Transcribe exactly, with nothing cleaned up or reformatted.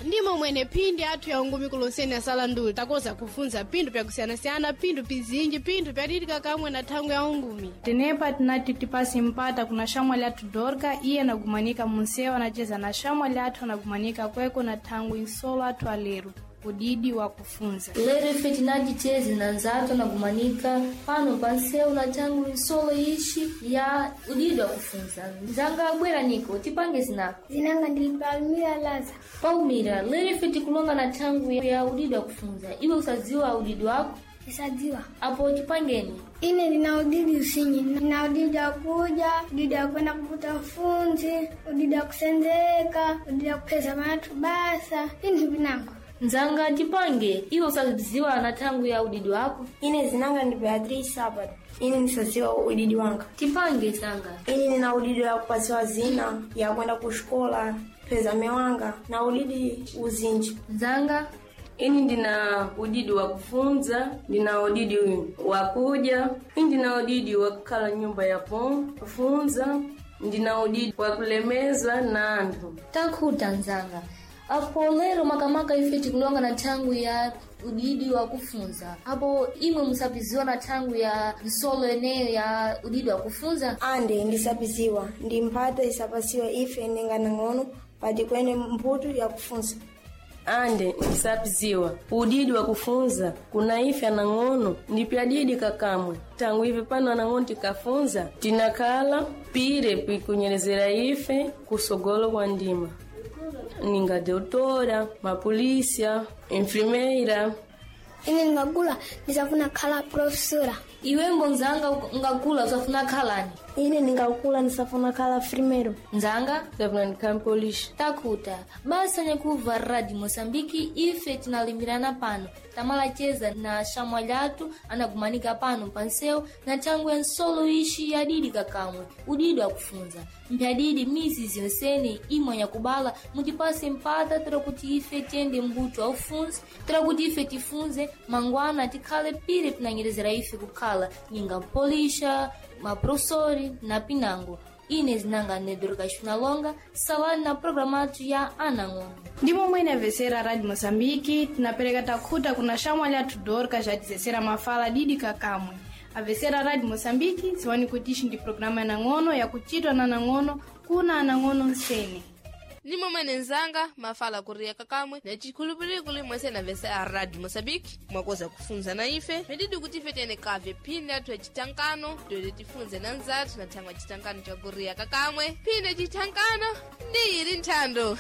Ndimo mwene phindi athu ya ungumi kulonseni asala nduli takoza kufunza phindu pyakusiyanasiyana, phindu pizinji, phindu pyadidika kamwe na thangwi ya ungumi. Tenepa tinati tipase mpata kuna shamwali athu Dorka, iye anagumanika munsewu anacheza na shamwali athu anagumanika kweko na thangwi nsolo athu alero udidi wa kufunza. Lero ife tinaticheze na nzatu anagumanika pano pa nsewu na thangu nsolo ixi ya udidi wa kufunza. Nzanga abwera niko tipange zinako. Zinanga ndili Palmira Laza. Palmira, lero ife tikulonga na thangu ya udidi wa kufunza. Iwe usadziwa udidi wako? Isadziwa. Apo tipangeni. Ine ndina udidi usinyi. Ndina udidi wa kuja, udidi wa kwenda kuputa funzi, udidi wa kusenzeka, udidi wa kupeza matu basa. Pinthu pinango. Nzanga tipange, iwe usadziwa na thangu ya udidi wako? Ine zinanga ndi Beatrice Sabat. Ine ndisadziwa udidi wanga. Tipange zanga. Ine nina udidi wa kupasiwa zina ya kwenda kuxikola, kupeza mewanga na udidi uzinji. Nzanga. Ini ndina udidi wa kufunza, ndina udidi wa kuja, ini ndina udidi wa kukhala nyumba ya pom kufunza, ndina udidi wa kulemeza na anthu. Takhuta nzanga. Apo lero makamaka ife tikulonga na thangu ya udidi wa kufunza. Apo imwe musapiziwa na thangu ya nsolo eneyo ya udidi wa kufunza. Ande ndisapiziwa, ndi mphata isapasiwa ife ninga nang'ono pati kwene mputu ya kufunza. Ande ndisapiziwa udidi wa kufunza kuna ife anang'ono ndipyadidi kakamwe tangu ife pano anang'ono tikafunza tinakhala pire pikunyerezera ife kusogolo kwa ndima ninga doutora, mapolisia, enfermeira. Ine ndingakula ndisafuna khala professora. Iwe mbonzanga ungakula usafuna khalani. Ine ndingakula ndisafuna khala primero. Nzanga Ndisafuna ndikhala polisi. Takhuta basa nyakuva Radio Moçambique ife tinalimbirana pano tamalacheza na shamwali athu anagumanika pano pansewu na thangwi ya nsolo ixi yadidi kakamwe udidi wakufunza mphyadidi mizi ziyonsene imwe nyakubala mutipase mpata tira kuti ife tiyende mbuto wa ufunzi tira kuti ife tifunze mangwana tikhale pire pinanyerezera ife kukhala ninga mpolisha maprofesori na pinango. Ine zinanga nedoroka xinalonga salani na programa athu ya anang'ono. Ndimo mwene avesera Radio Moçambique tinapereka takhuta kuna shamwali athu Dorka jatizesera mafala didi kakamwe. Avesera Radio Moçambique ziwani kuti ixi ndi programa ya nang'ono yakuchitwa na nang'ono kuna anang'ono nsene. Ndimo mwene nzanga mafala kuriya kakamwe na chikhulupiriro kuli mwese na vese a Radio Moçambique mwakoza kufunza na ife medidi kuti ife tene kave phindi athu yacitankano toete tifunze na nzathu na thangwi yacitankano cha kuriya kakamwe phindi yacitankano ndi ili nthando.